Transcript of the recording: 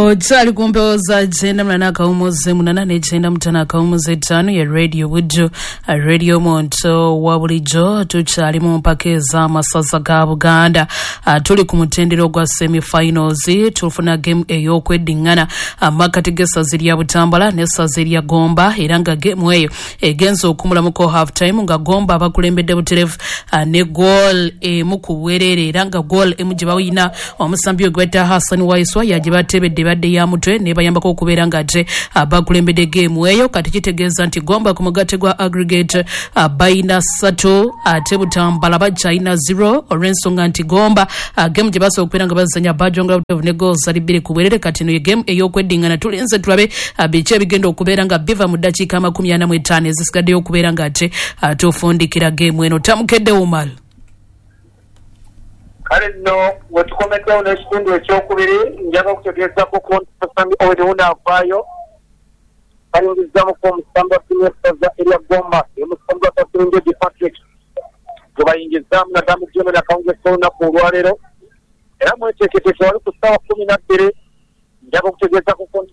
Okyali ku mpewo za 98.8 ne 95.5 ya Radio Buddu, Radio Omuntu wa bulijjo. Tukyali mu mpaka ez'amasaza ga Buganda. Tuli ku mutendera ogwa semifinals, tufuna game ey'okweddiŋŋana amakati g'essaza erya Butambala n'essaza erya Gomba, era nga game eyo egenza okumulamuko half time nga Gomba abakulembedde buterevu ne goal emu ku bwereere, era nga goal emu gye bawina omusambi we gwetta Hassan Waiswa yagye batebedde badde ya mutwe nebayambako okubeera nga ate abakulembedde game eyo. Kati kitegeeza nti Gomba ku mugatte gwa aggregate bayina 3, ate Butambala bakyalina 0, olw'ensonga nti Gomba game gye basobola okubeera nga bazanya bajongera buterevu ne goals zali 2 ku bwerere. Kati eno ye game ey'okweddiŋŋana, tulinze tulabe biki ebigenda okubeera nga biva mu ddakiika 45 ezisigaddeyo okubeera nga ate tufundikira game eno. Tamukedde Umar. Kale nno wetukomeddewo n'ekitundu ekyokubiri, njaga okutegeezaku ku nti omusambi Owen wuno avaayo bayingizaamuku omusambi wa ttiimu y'essaza erya Gomba, omusambi wa Kasirunjogi Patrick gwebayingizaamu naddala mu geemu eno akawungeezi k'olunaku olwaleero. Era mweteeketeeke wali ku ssaawa 12 njaga okutegeezaku ku nti